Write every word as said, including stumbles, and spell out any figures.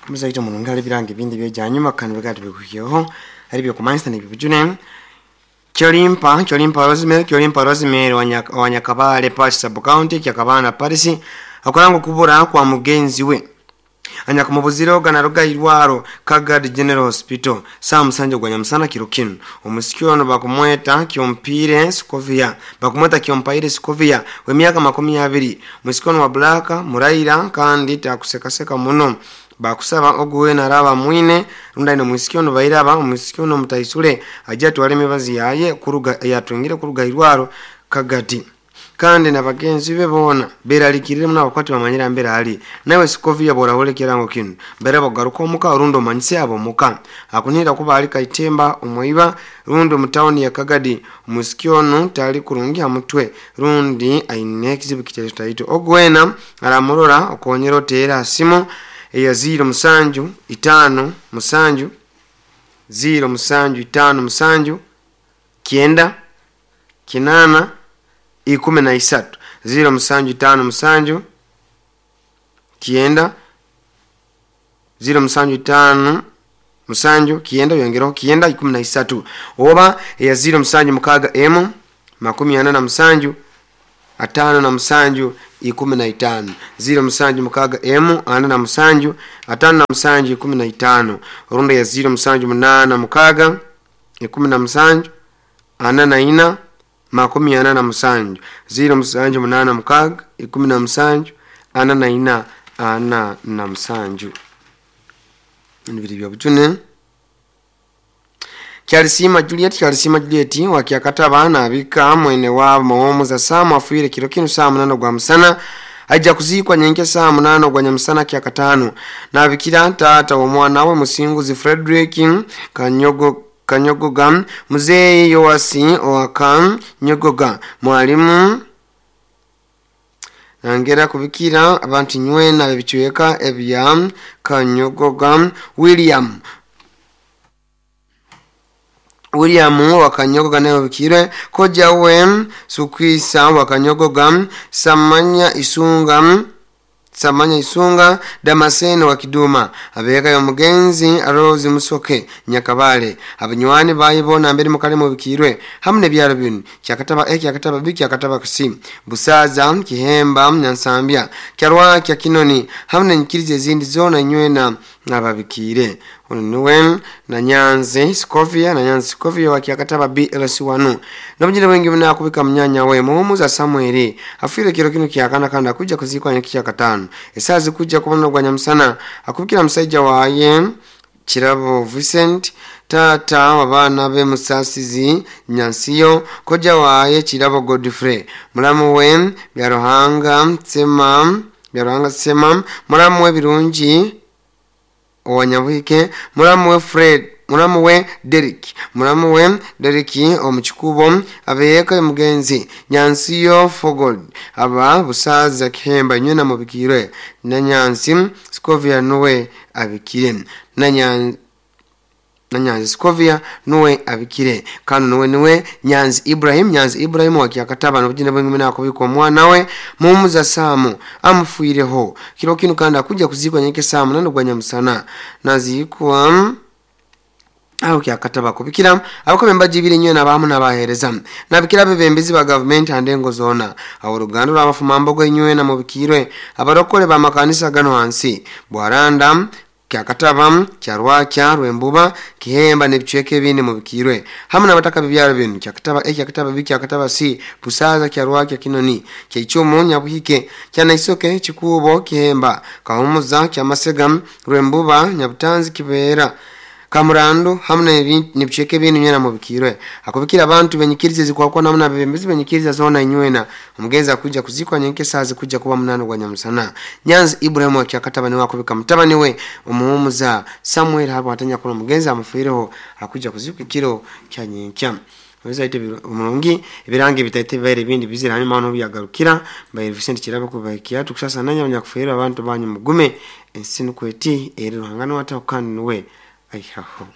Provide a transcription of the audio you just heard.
Muzaito mulungi ali birangi bindi byejanyuma kandi bigati bikuhyeho ali byokumanyisa nebibujune. Kyolimpa Kyolimpa Rosemary Kyolimpa Rosemary wa Nyakabale Parish Sub County Kyakabana Parish akorango kubura kwa mugenzi we anyakumubuziro ganaruga irwaro Kagadi General Hospital saa musanju gwa nyamusana kiro kinu. Omusikyo ono bakumweta Kyompire Skovia bakumweta Kyompaire Skovia we miaka makumi abiri. Musikyo wa Black muraira kandi takusekaseka muno bakusaba oguwe naraba mwine runda ino musikyo no bairaba omusikyo no mutaisule ajja twale mibazi yaye kuruga yatwingire kuruga irwaro Kagadi kandi na bagenzi be bona beralikirire muna bakwati bamanyira mbere ali nawe Skovia bora hole kirango kinu mbere bagaruka omuka rundo manyise abo muka akunira kuba ali kaitemba omwiba rundo mutawuni ya Kagadi. Omusikyo ono tali kurungi amutwe rundi aine kizibu kiteto ogwena aramurora okonyero tera simu eya zero musanju itano musanju zero musanju itano musanju kienda kinana ikumi na isatu zero musanju itano musanju kienda zero musanju itano musanju kienda yongereho kienda ikumi na isatu oba eya zero musanju mukaga emu makumi ana na musanju atano na musanju ikumi na itano zero musanju mukaga emu ana na musanju atano na musanju ikumi na itano orunda ya zero musanju munana mukaga ikumi na musanju ana na ina makumi ana na musanju zero musanju munana mukaga ikumi na musanju ana na ina ana na musanju. Nibiri bya bujune. Kyalisima Juliet Kyalisima Juliet wakiakataba na abika mwene wa mawomu za samu afuire kiro kinu saa munano gwa musana aija kuzikwa nyenke saa munano gwa nyamusana kyakatano na abikira tata wa mwana we Musinguzi Frederick Kanyogo Kanyogoga Mzee Yoasi Oaka Nyogoga mwalimu nangera kubikira abantu nywena bebichweka ebya Kanyogoga William William wakanyogoga nayo bikire koja we Sukwisa wakanyogoga Samanya Isunga Samanya Isunga Damascene wa Kiduma abeka yo mugenzi Rose Musoke Nyakabale abanywanyi bayibona mbere mukale mu bikirwe hamwe nebyaro binu kyakataba A kyakataba B kyakataba C Busaza Kihemba Nyansambya Kyarwa kya Kinoni hamwe nkirize ezindi zona nywena nababikire. Ono niwe na Nyanzi Skovia na Nyanzi Skovia wa kyakataba B L C one nobujire bwengi bunakubika mnyanya we muhumuza Samuel afire kiro kinu kyakana kanda kuja kuzikwa nyaki kyakatano esazi kuja kubona gwa nyamusana akubikira musaija waye Kirabo Vincent tata wabana be Musasizi Nyansiyo koja waye Kirabo Godfrey mulamu we Byaruhanga Sema Byaruhanga Sema mulamu we Birungi Owanyabuhike mulamu we Fred mulamu we Derek mulamu we Derek omuchikubo abeyeka mugenzi Nyansiyo Fogold aba Busaza Kihemba nywena mubikirwe na Nyansi Skovia nuwe abikire na Nyanzi na Nyanzi Skovia nuwe abikire kano nuwe nuwe Nyanzi Ibrahim Nyanzi Ibrahim wakiakataba nobujina bwengi nakubikwa mwana we Mumuza Samu amufuireho kiro kinu kandi akuja kuzikwa nyeke Samu nando gwa nyamusana nazikwa aho kyakataba kubikira abakomemba jibiri nywe nabamu nabahereza nabikira bebembezi ba government andengo zona aho rugando rwabafuma mbogo nywe na mubikirwe abarokole ba makanisa gano hansi Bwaranda kyakataba Kyarwakya Rwembuba Kihemba nebichweke bine mubikirwe hamwe nabataka bibyaro binu kyakataba A kyakataba B kyakataba C Busaza Kyarwakya Kinoni Kyaichumu Nyabuhike Kyanaisoke Chikubo Kihemba Kahumuza Kyamasega Rwembuba Nyabutanzi Kibera Kamurandu hamwe nebichweke binu nyena mubikirwe akubikira abantu benyikirize zikwakwa namna bebembezi benyikiriza zona inywena omugeza kuja kuzikwa nyenke sazi kuja kuba munano gwa nyamusana Nyanzi Ibrahim wakiakataba ni wakubika mutabani we omuhumuza Samuel habo atanya kuno mugeza amufireho akuja kuzikwa kiro kya nyenkya Weza ite mulungi ebirangi bitaite baire bindi bizira hanyuma ono byagarukira baire Vincent Kirabo kubakia tukusasa nanya abanyakufiira abantu banyu mugume ensi nukweti eri ruhangano wata kandi nuwe aihaho.